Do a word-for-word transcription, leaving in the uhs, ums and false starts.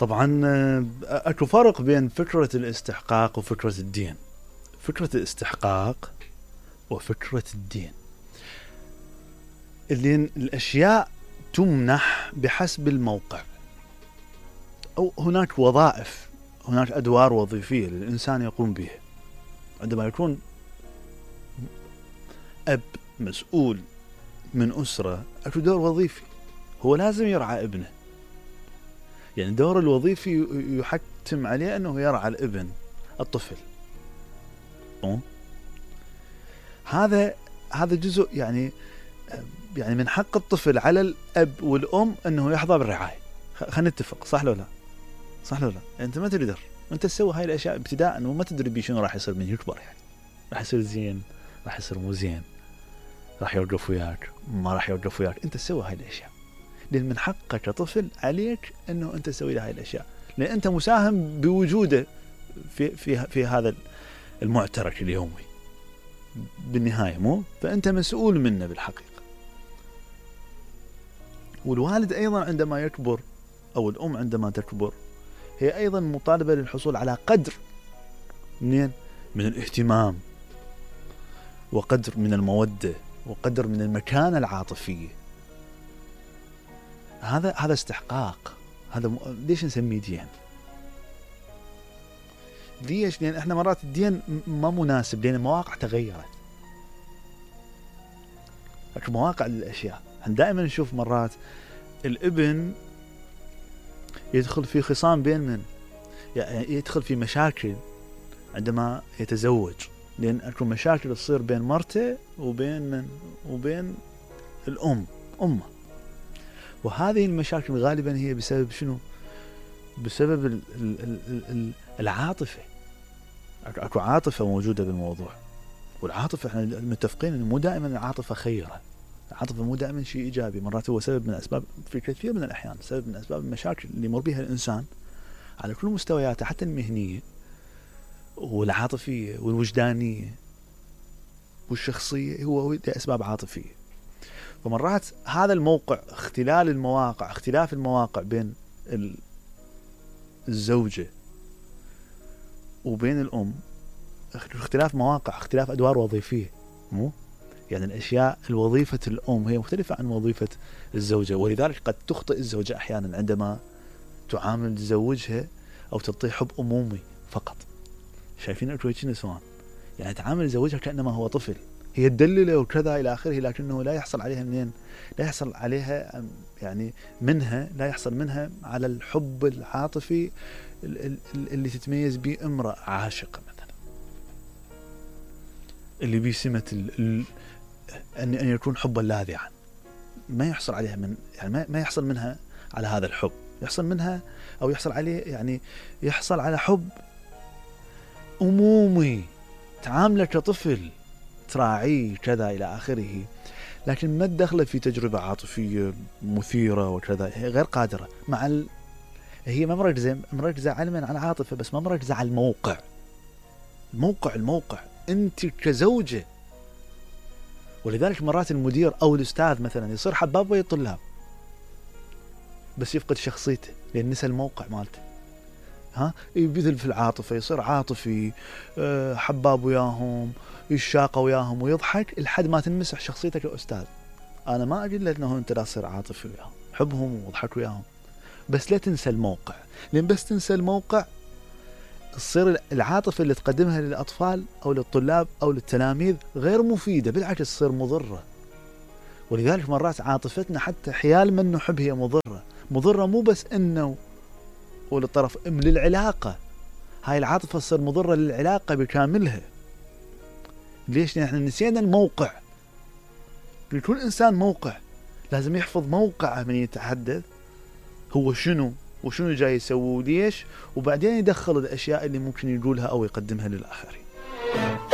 طبعا اكو فرق بين فكرة الاستحقاق وفكرة الدين. فكرة الاستحقاق وفكرة الدين اللي الاشياء تمنح بحسب الموقع، او هناك وظائف، هناك ادوار وظيفية للانسان يقوم بها. عندما يكون اب مسؤول من اسرة اكو دور وظيفي، هو لازم يرعى ابنه، يعني الدور الوظيفي يحتم عليه انه يرعى الابن الطفل. أه؟ هذا هذا جزء يعني يعني من حق الطفل على الاب والام انه يحظى بالرعايه. خلينا نتفق، صح لو لا؟ صح لو لا؟ يعني انت ما تقدر انت تسوي هاي الاشياء ابتداء وما تدري بي شنو راح يصير من يكبر، يعني راح يصير زين، راح يصير مو زين، راح يوقف وياك، ما راح يوقف وياك، انت تسوي هاي الاشياء لان من حقك كطفل عليك انه انت تسوي له هاي الاشياء، لان انت مساهم بوجوده في في في هذا المعترك اليومي بالنهايه، مو؟ فانت مسؤول منه بالحقيقه. والوالد ايضا عندما يكبر او الام عندما تكبر هي ايضا مطالبه للحصول على قدر منين؟ من الاهتمام، وقدر من الموده، وقدر من المكانه العاطفيه. هذا هذا استحقاق. هذا م... ليش نسميه دين؟ ليش؟ لان احنا مرات الدين ما مناسب لان المواقع تغيرت. لكن مواقع للاشياء، احنا دائما نشوف مرات الابن يدخل في خصام بين من؟ يعني يدخل في مشاكل عندما يتزوج، لان اكو مشاكل تصير بين مرته وبين من؟ وبين الام امه. وهذه المشاكل غالبا هي بسبب شنو؟ بسبب ال ال ال العاطفة. اكو عاطفة موجودة بالموضوع، والعاطفة احنا متفقين انه مو دائما العاطفة خيرة، العاطفة مو دائما شيء ايجابي، مرات هو سبب من اسباب، في كثير من الاحيان سبب من اسباب المشاكل اللي يمر بها الانسان على كل مستوياته، حتى المهنية والعاطفية والوجدانية والشخصية، هو لأسباب عاطفية. فمرات هذا الموقع، اختلال المواقع، اختلاف المواقع بين الزوجة وبين الأم، اختلاف مواقع، اختلاف أدوار وظيفية، مو؟ يعني الأشياء، الوظيفة الأم هي مختلفة عن وظيفة الزوجة، ولذلك قد تخطئ الزوجة أحيانا عندما تعامل زوجها أو تعطيه حب أمومي فقط. شايفين أكويتش نسوان؟ يعني تعامل زوجها كأنما هو طفل، هي تدلله وكذا إلى آخره، لكنه لا يحصل عليها منين؟ لا يحصل عليها يعني منها، لا يحصل منها على الحب العاطفي اللي تتميز به امرأة عاشقة مثلا، اللي بسمة أن أن يكون حبا لاذعا، ما يحصل عليها من يعني ما يحصل منها على هذا الحب، يحصل منها أو يحصل عليه يعني يحصل على حب أمومي، تعامله كطفل، تراعيه كذا إلى آخره، لكن ما تدخله في تجربة عاطفية مثيرة وكذا، هي غير قادرة مع ال... هي ما مركزة مركزة علما على العاطفة بس، ما مركزة على الموقع. الموقع الموقع أنت كزوجة. ولذلك مرات المدير أو الأستاذ مثلا يصير حباب ويا الطلاب بس يفقد شخصيته لأن نسى الموقع مالته. ها يبذل في العاطفة، يصير عاطفي، حباب وياهم، يشاق وياهم ويضحك لحد ما تنمسح شخصيتك كأستاذ. أنا ما أقول لك أنه أنت لا تصير عاطفي وياهم، حبهم واضحك وياهم، بس لا تنسى الموقع، لأن بس تنسى الموقع تصير العاطفة اللي تقدمها للأطفال أو للطلاب أو للتلاميذ غير مفيدة، بالعكس تصير مضرة. ولذلك مرات عاطفتنا حتى حيال من نحب هي مضرة، مضرة مو بس إنه وللطرف ام للعلاقة، هاي العاطفة تصير مضرة للعلاقة بكاملها. ليش؟ لأن احنا نسينا الموقع. لكل إنسان موقع، لازم يحفظ موقعه من يتحدث، هو شنو وشنو جاي يسوي وليش، وبعدين يدخل الأشياء اللي ممكن يقولها أو يقدمها للآخرين.